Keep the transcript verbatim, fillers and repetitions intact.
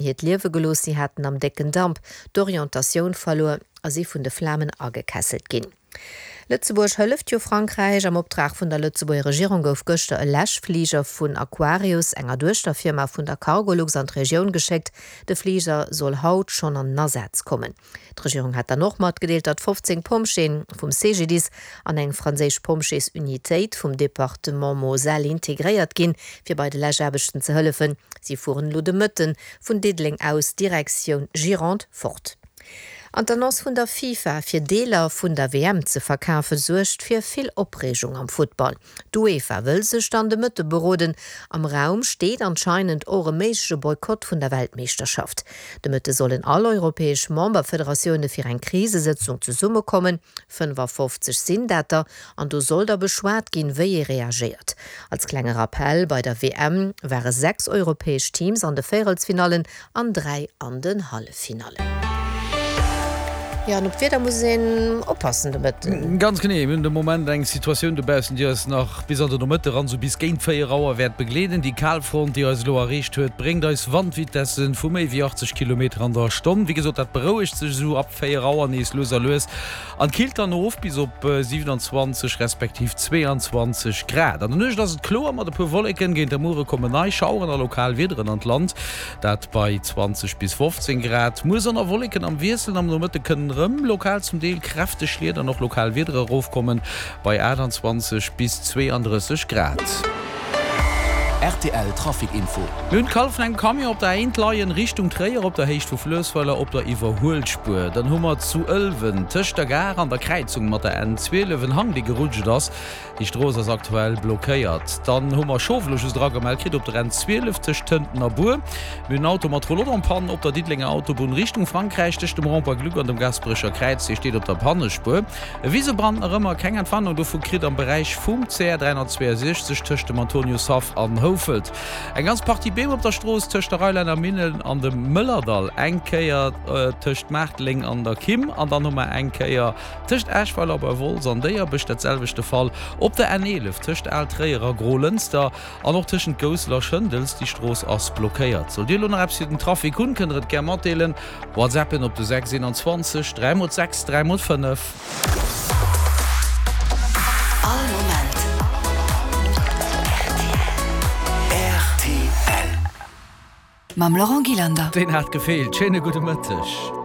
hiert Liewe gelooss. Si haten am décken Damp d'Orientatioun verluer a si vun de Flamen agekesselt ginn. Lëtzebuerg hëlleft jo Frankräich. Am Optrag vun der Lëtzebuerger Regierung gouf gëschter e Läschfliger vun Aquarius, enger Duechterfirma vun der Cargolux, an d'Regioun geschéckt. De Fliger soll haut schonn an den Asaz kommen. D'Regierung hat dann och matgedeelt, datt fofzéng Pompjeeë vum C G D I S an eng franséisch Pompjeesunitéit vum Departement Moselle integréiert ginn, fir bei de Läschaarbechten ze hëllefen. Si fueren elo de Mëtte vun Diddeleng aus Direktioun Gironde fort. An d'Annonce vun der FIFA, fir Deeler vun der W M ze verkafen, suergt fir vill Opreegung am Futtball. D'UEFA wëll sech dann de Mëtte beroden. Am Raum steet anscheinend och e méigleche Boykott vun der Weltmeeschterschaft. De Mëtte sollen all europäesch Memberfederatioune fir eng Krisesëtzung zesummekommen. fënnefafofzeg sinn dat der, an do soll da beschwat ginn, wéi ee reagéiert. Als klenge Rappell, Bei der W M ware sechs europäesch Teams an de Véierelsfinallen an dräi an den Halleffinallen. Jo, an op d'Wieder muss een oppassen de Mëtten. Ganz genee, mir hunn de Moment eng Situatioun dobaussen, déi eis nach bis an de Nomëtte ran, sou bis géint véier Auer wäert begleeden. Déi Kalfront, déi eis elo erreecht huet, bréngt eis Wandvitessen vu méi wéi achtzeg Kilometer an der Stonn. Wéi gesot, dat berouegt sech esou ab véier Auer nees lues a lues an killt dann of bis op siwenanzwanzeg respektiv zweeanzwanzeg Grad. An der Nuecht ass et kloer mat e puer Wolleken, géint de Muere kommen nei Schaueren a lokal Wiederen an d'Land, dat bei zwanzeg bis fofzéng Grad. Muer Sonn a Wolleken am Wiessel, am Nomëtte kënnen erëm lokal zum Deel kräfteg Schliet an och lokal Wiedere erofkommen, bei aachtanzwanzeg bis zweeandrësseg Grad. R T L Trafic Info. Mir hunn d'Kall vun engem Camion op der A eent leien, Richtung Tréier op der Héicht vu Fluessweiler op der Iwwerhuelspuer. Dann hu mer zu Ëlwen tëscht der Gare an der Kräizung mat der N zwielef en Hang dee gerutscht ass. Déi Strooss ass aktuell blockéiert. Dann hu mer Schof elo just eragemellt kritt op der N zwielef tëscht Tënten a Bur. Mir hunn en Auto mat Roulotte en panne op der Diddelenger Autobunn Richtung Frankräich tëscht dem Rond-point Gluck an dem Gaasperecher Kräiz. Dee steet op der Pannespuer. E Wisebrand nach ëmmer keng Entwarnung dovu kritt am Beräich vum C R dräihonnertzweeënsechzeg tëscht dem Antoniushaff an Houfelt. Eng ganz Partie Beem op der Strooss tëscht der Reilänner Millen an dem Mëllerdall, eng Kéier tëscht Maarteleng an der Kimm an dann hu mer eng Kéier tëscht Eschweiler bei Wolz an Déierbech dat selwecht de Fall op der N eelef tëscht Al-Tréier a Grolënster an och tëschent Goussel a Schëndels. Déi Strooss ass blockéiert. Sollt Dir elo nach eppes fir den Trafic hunn, kënnt der et gär matdeelen. WhatsAppen op de sechs eenanzwanzeg dräi mol sechs dräi mol fënnef. All Moment R T L. Mam Laurent Gillander. Deen hat gefeelt. Schéine gudde Mëtteg.